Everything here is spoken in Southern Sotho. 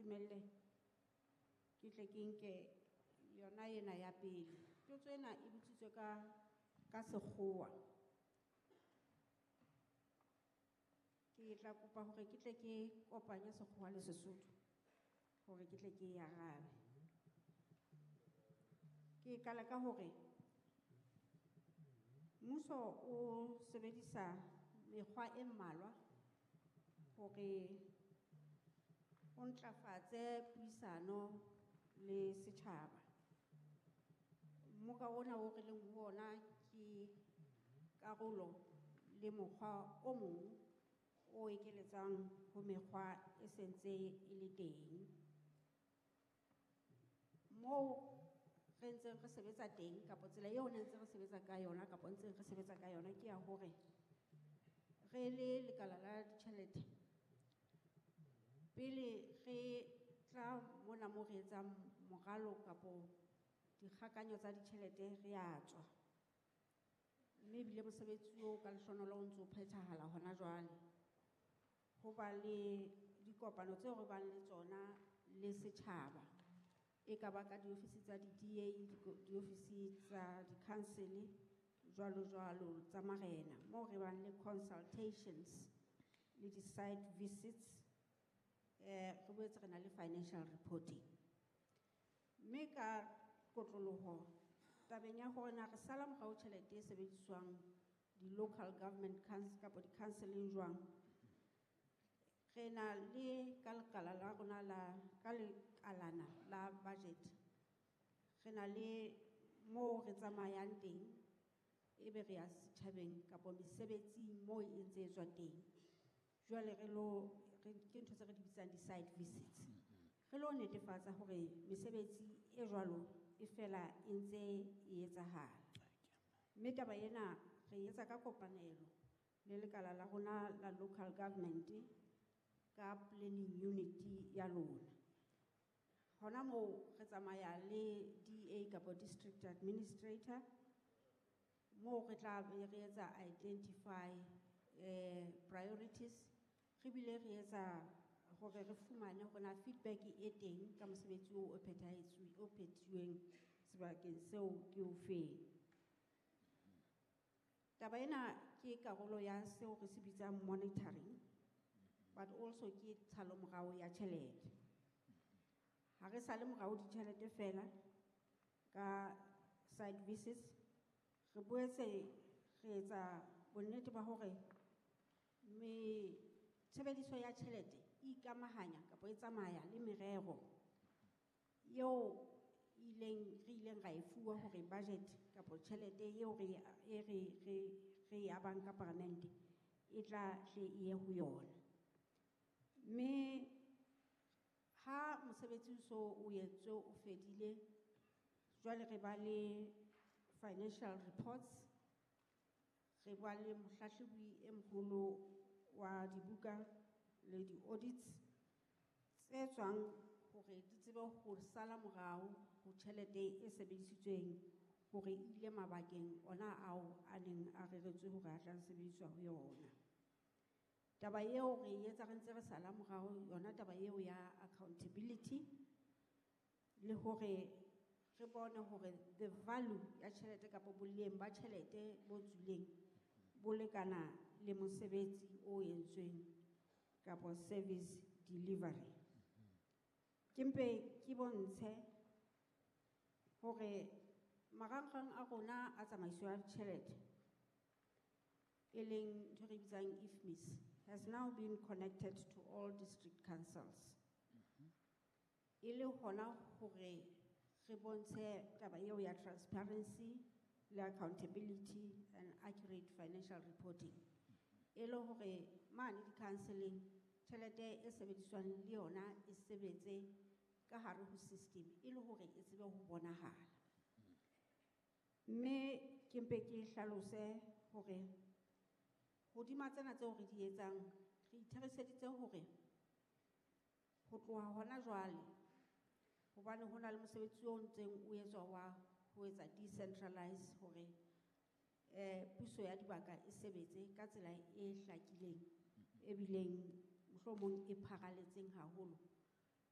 ntumelle ke tle ke nke yona ena ya pele. Potso ena e botsitswe ka sekgowa. Ke tla kopa hore ke tle ke kopanye sekgowa le Sesotho hore ke tle ke e arabe. Ke qala ka hore mmuso o sebedisa mekgwa e mmalwa hore o ntlafatse puisano le setjhaba. Mmoka ona o re leng ho ona ke karolo le mokgwa o mong o ekeletsang ho mekgwa e sentse e le teng. Moo re ntseng re sebetsa teng kapa tsela eo ne ntse re sebetsa ka yona kapa ntseng re sebetsa ka yona ke ya hore re le lekala la ditjhelete pele re tla mona mo re etsang moralo kapo dikgakanyo tsa ditjhelete re a tswa. Mme ebile mosebetsi oo ka lehlohonolo o ntso o phethahala hona jwale. Ho ba le dikopano tseo re bang le tsona le setjhaba. E ka ba ka diofisi tsa di-D A, diofisi tsa di-council, jwalo jwalo tsa marena. Moo re bang le consultations le di-site visits, re boetse re na le financial reporting. Mme ka kotloloho tabeng ya hore na re sala morao tjhelete e sebediswang di-local government council kapa di-councileng jwang, re na le ka lekala la rona la, ka lekalana la budget, re na le moo re tsamayang teng, ebe re ya setjhabeng kapa mesebetsing moo e ntse e tswa teng. Jwale re lo, re, ke ntho tse re di bitsang di-site visits. Re lo netefatsa hore mesebetsi e jwalo e fela e ntse e etsahala. Mme taba ena re etsa ka kopanelo le lekala la rona la local government ka planning unit ya lona. Hona moo re tsamaya le DA kapa district administrator, moo re tla be re etsa identify priorities, re bile re etsa hore re fumane hore na feedback e teng ka mosebetsi oo o phethahetswe, o phethuweng sebakeng seo ke o feng. Taba ena ke karolo ya seo re se bitsang monitoring, but also ke tshalomorao ya tjhelete. Ha re sale morao ditjhelete fela ka site visits, re boetse re etsa bonnete ba hore me tshebediso ya tjhelete e ikamahanya kapa e tsamaya le merero eo re ileng ra e fuwa hore budget kapa tjhelete eo re e abang ka paramente e tla hle e ye ho yona. Mme ha mosebetsi o so o entswe o fedile, jwale re ba le financial reports, re ba le mohlahlobi e moholo wa dibuka le di-audits tse tswang hore di tsebe ho sala morao ho tjhelete e sebedisitsweng hore e ile mabakeng ona ao a neng a reretswe hore a tla sebediswa ho yona. Taba eo re e etsa re ntse re sala morao yona taba eo ya accountability le hore re bone hore the value ya tjhelete kapa boleng ba tjhelete bo tswileng bo lekana le mosebetsi o entsweng kapa service delivery. Ke mpe ke bontshe hore marangrang a rona a tsamaiso ya tjhelete e leng ntho e re bitsang IFMIS has now been connected to all district councils. E le hona hore re bontshe taba eo ya transparency le accountability and accurate financial reporting. E le hore mane di-counseling tjhelete e sebediswang le yona e sebetse ka hare ho system e le hore e tsebe ho bonahala. Mme ke mpe ke hlalose hore hodima tsena tseo re di etsang re itheriseditse hore ho tloha hona jwale hobane ho na le mosebetsi o ntseng o etswa wa ho etsa decentralize hore puso ya dibaka e sebetse ka tsela e hlakileng e bileng mohlomong e pharaletseng haholo.